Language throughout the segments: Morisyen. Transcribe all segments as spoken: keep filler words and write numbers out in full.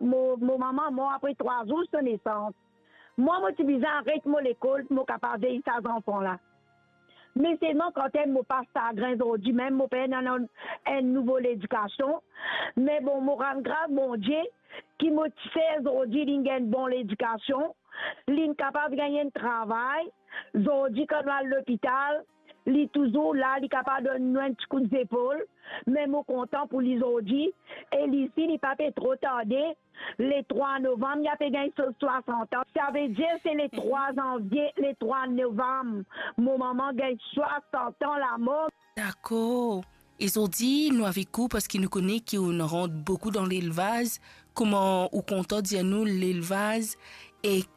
Mo, mo mama mor apre trwa zour so nesans. Mwa, mo ti bizin aret mo lekol pou mo kapav vey sa zanfan la. Me selman, kan mo pas sagrin zordi, mem mo pena enn, enn nouvo ledikasion. Me bon, mo rann gras Bondie ki mo tifi zordi, li gagn bon ledikasion, li kapav gagn enn travay. Zordi, kan nou al lopital, li touzour la, li kapav donn nou enn ti kout zepol. Me mo kontan pou li zordi, e li si li pa pe tro tarde, le trwa novam, li ape gagn so swasant an. Savedir se le trwa zanvie, le trwa novam, mo mama gagn swasant an lamor. Dakor. E zordi, nou avek ou parski nou kone ki ou rant boukou dan lelvaz. Kouma ou kontan dir nou lelvaz ek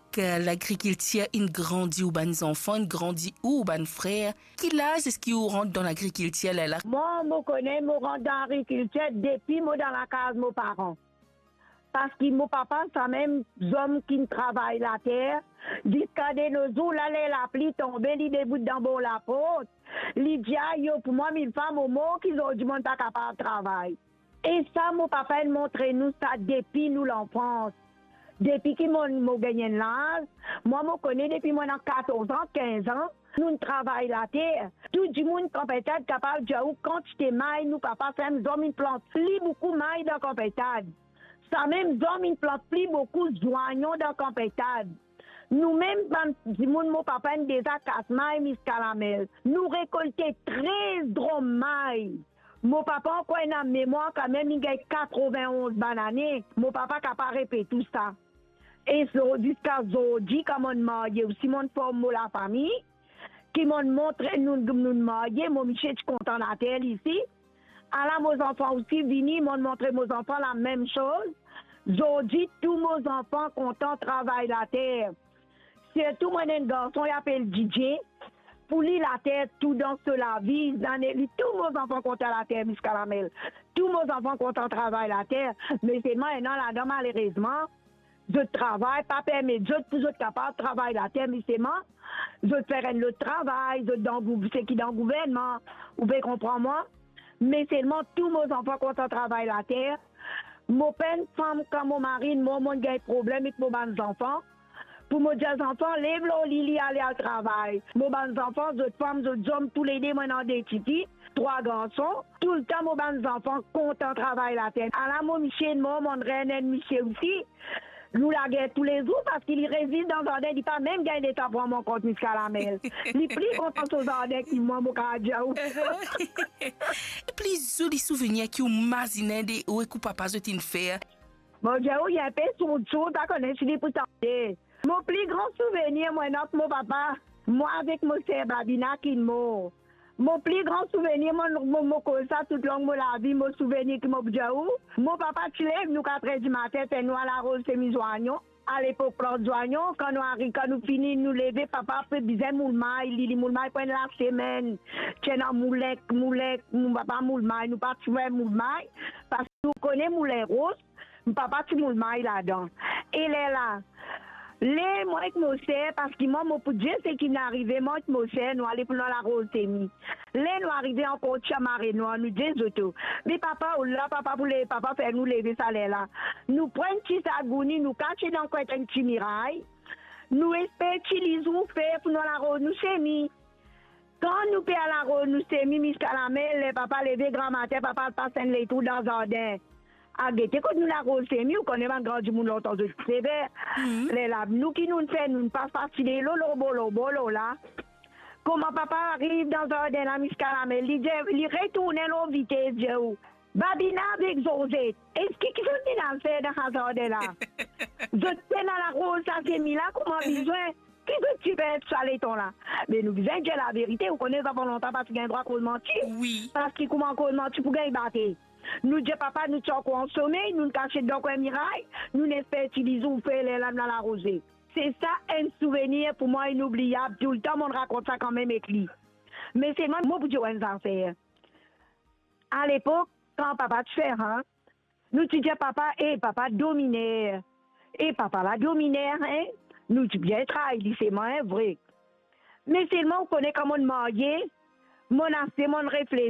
lagrikiltir inn grandi ou bann zanfan, inn grandi ou, ou bann frer? Ki laz eski ou rant dan lagrikiltir lerla? Mwa, mo kone mo rant dan lagrikiltir depi mo dan lakaz mo paran. Parski mo papa, samem zom ki'nn travay later, ziska de no zour la, ler lapli tonbe, li debout dan bor laport, li dir, "Ayo pou mwa, mil fwa mo mor ki zordi monn pa kapav travay." E sa, mo papa inn montre nou sa depi nou lanfans. Depi ki mo, mo gagn enn laz, mwa, mo kone depi mo ena katorz an, kinz an, nou'nn travay later. Tou dimoun Kanpetad kapav dir ou kantite may nou papa fer, zom inn plant pli boukou may dan Kanpetad. Samem zom inn plant pli boukou zwanyon dan Kanpetad. Nou mem bann dimoun mo papa inn deza kas may Miskalamel. Nou rekolte trez drom may. Mo papa ankor ena memwar kanmem, li gagn katrevin-onz banane. Mo papa kapav repet ou sa. E so, ziska zordi, kan monn marye osi, monn form mo lafami, ki monn montre nou, nou'nn marye, mo misie ti kontan later li isi. Ala mo zanfan osi vini, monn montre mo zanfan lamem soz. Zordi, tou mo zanfan kontan travay later. Sirtou mo ena enn garson, li apel Didie. Pou li, later tou dan so lavi, zane li, tou mo zanfan kontan later Miskalamel. Tou mo zanfan kontan travay later, me selman ena ladan, malerezman, zot travay pa permet zot pou zot kapav travay later, me selman zot fer enn lot travay, zot dan gou-, seki dan gouvernman, ou pe konpran mwa? Me selman tou mo zanfan kontan travay later. Mo pena fam, kan mo mari mor, monn gagn problem ek mo bann zanfan. Pou mo dir zanfan, "Lev lor li, li ale al travay." Mo bann zanfan, zot fam, zot zom, toulede, mo ena de tifi, trwa garson. Toultan mo bann zanfan kontan travay later. Ala mo misie mor, monn reyni enn misie osi. Nou lager toulezour, parski li rezis dan zardin, li pa mem gagn letan pran mwa kont Miskalamel. Li pli kontan so zardin ki mwa, mo kapav dir ou. Pli zoli souvenir ki ou mazinn de ou ek ou papa zot inn fer? Mo dir ou, li enpe sourd sourd, pa kone si li pou tande. Mo pli gran souvenir mo ena mo papa, mwa avek mo ser Babina ki'nn mor. Mo pli gran souvenir, mo, mo, mo koz sa toutlong mo lavi, mo souvenir ki mo pou dir ou, mo papa ti lev nou katrer dimatin, fer nou al aroz semi zwanyon. Alepok plant zwanyon, kan nou ari-, kan nou fini, nou leve, papa pe bizin moul may, li, li moul may pou enn lasemenn. Ti ena moulin, moulin, mo papa moul may, nou pa ti fer moul may, parski nou kone moulin ros, mo papa ti moul may ladan. E lerla, ler mwa ek mo ser, parski mwa, mo pou dir seki finn arive, mwa ek mo ser, nou ale pou nou al aroz semi. Ler nou arive ankor ti mare nwar, nou dir zot, "Me papa, ola, papa pou le-, papa fer nou leve sa lerla." Nou pran ti zagouni, nou kase dan kwin enn ti miray. Nou esper ti lizour fer pou nou al aroz nou semi. Kan nou pe al aroz nou semi Miskalamel, ler papa leve gramatin, papa al pas enn letrou dan zardin. Al gete kot nou al aroz semi, ou kone bann gran dimoun lontan zot ti sever. Mhm. Lerla, nou ki nou'nn fer, nou'nn pas, pas ti delo lor bor, lor bor, lor la. Kouma papa ariv dan zardin la, Miskalamel, li dir, li retourne lor vites, dir ou, "Babina avek Zozet, eski ki zot finn al fer dan sa zardin la? Zot pena al aroz sa semi la kouma bizin? Ki zot ti fer sa letan la?" Me nou bizin dir laverite, ou kone zanfan lontan pa ti gagn drwa koz manti. Wi. Parski kouma koz manti pou gagn bate? Nou dir papa, nou ti ankor ansomey, nou'nn kasiet dan kwin miray, nou'nn esper ti lizour fer lerla nou al aroze. Se sa enn souvenir pou mwa inoubliab, toultan monn rakont sa kanmem ek li. Me selman mo pou dir ou enn zafer. Alepok, kan papa ti fer rant, nou ti dir papa, "E papa dominer, e papa la dominer, en?" Nou ti bien tray li selman, en, vre. Me selman ou kone kan monn marye, monn aste, monn refleti.